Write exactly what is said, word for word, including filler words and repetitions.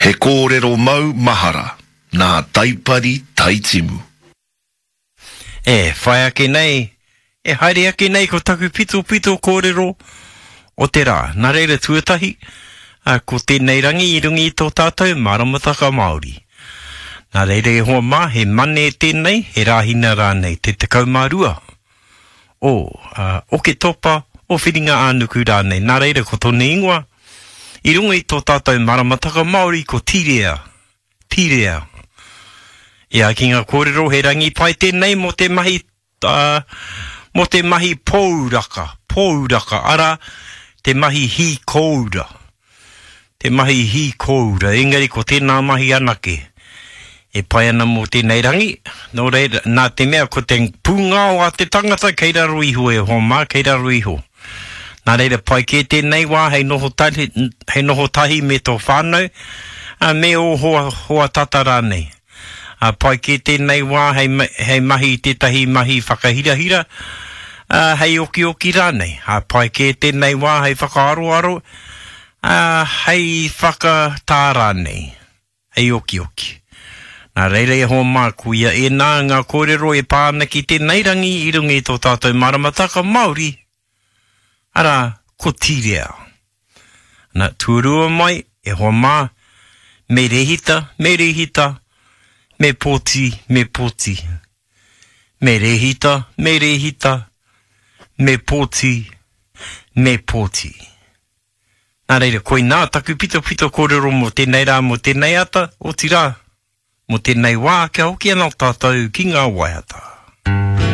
He kōrero mau mahara nā Taipari Taitimu. E whai ake nei, e haere ake nei ko taku pitopito kōrero o te rā. Nā reira tuatahi, a, ko tēnei rangi i runga i tō tātou maramataka Māori. Nā reira e hoa mā, he mane tēnei, he rāhina rānei, te tekau mā rua o uh, Oketopa, o Whiringa ā-nuku rānei. Nā reira ko tōna ingoa, i runga i tō tātou maramataka Māori ko Tirea. Tirea. Ia, ki ngā kōrero he rangi pai tēnei mō te mahi, uh, mō te mahi pōuraka, pōuraka, ara te mahi hī kōura. Te mahi hī kōura, engari ko tēnā mahi anake. E pai ana mō tēnei rangi, nō reira, nā te mea ko te pūngao a te tangata kei raro iho e hoa mā, kei raro iho. Nā reira, pai kē tēnei wā hei noho tahi, hei noho tahi me tō whānau, a, me ō hoa, hoa tata rānei. A, pai kē tēnei wā hei, hei mahi tētahi mahi whakahirahira, a, hei okioki rānei. A, pai kē tēnei wā hei whakaaroaro, a, hei whakatā rānei, hei okioki. Nā reira e hoa mā, koia ēnā ngā kōrero e pā ana ki tēnei rangi i runga i tō tātou maramataka Māori, arā, ko Tirea. Nā, tuarua mai, e hoa mā, me rehita, me rehita, me pōti, me pōti. Me rehita, me rehita, me pōti, me pōti. Nā reira, koinā taku pitopito kōrero mō tēnei rā, mō tēnei ata, otirā, mō tēnei wā, kia hoki anō tātou ki ngā waiata.